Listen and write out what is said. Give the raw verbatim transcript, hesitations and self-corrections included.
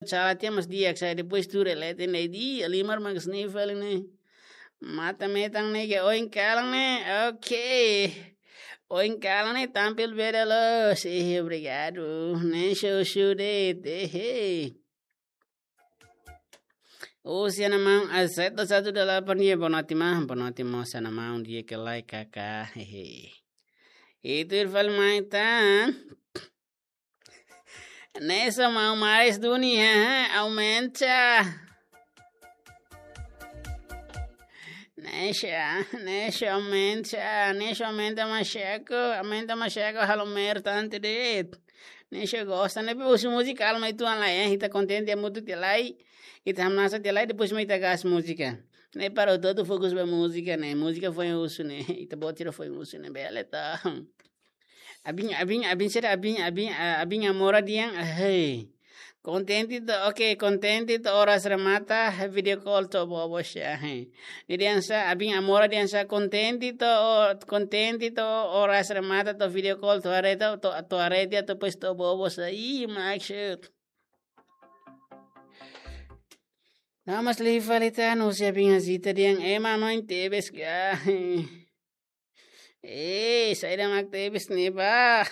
sala tiha mas di'ak, sai depois tuur leten de'it, halimar mak sniff fali ne'e. Matan-metan ne'e ke oin kalan ne'e, oke. Oin kalan ne'e tampil beda loos, eh, obrigadu. Ne'e show show de'it, eh, eh. Husi ha'u-nia maun, ah, sete satu delapan, ya, boa noite, maun, boa noite, maun, husi ha'u-nia maun, di'ak ka lae, kaka, hehe. Ita tuur fali mai tan. Ne'e só maun maris duni, ha, ha, aumenta. Ne'e só, ne'e só aumenta, ne'e só aumenta macaco, aumenta macaco, halo mer tanto de'it. Ne'e só gosta, ne'e pe husu múzika alma itu an lai, eh, ita kontente hamutuk tiha lai, ita hamnasa tiha lai, depois mai ita gas múzika. Ne'e para hotu-hotu fokus ba múzika, ne'e, múzika foin husu, ne'e, ita-boot sira foin husu, ne'e, bele ta. Abin, abin, abin sira, abin, abin, ah, abin amora dehan, ah, hey. Kontente to'o, oke, kontente to'o oras remata, video call to'o bobo sira, hey. Nia dehan sá, abin amora dehan sá, kontente to'o, kontente to'o oras remata to'o video call to'o haree to'o, to'o, to'o haree tiha to'o depois to'o bobo sira. Ih, maksud. Nah, mas liu fali tan, husi abin Azita dehan, ema no tebes ka. Eh, saida mak tebes ne'e ba.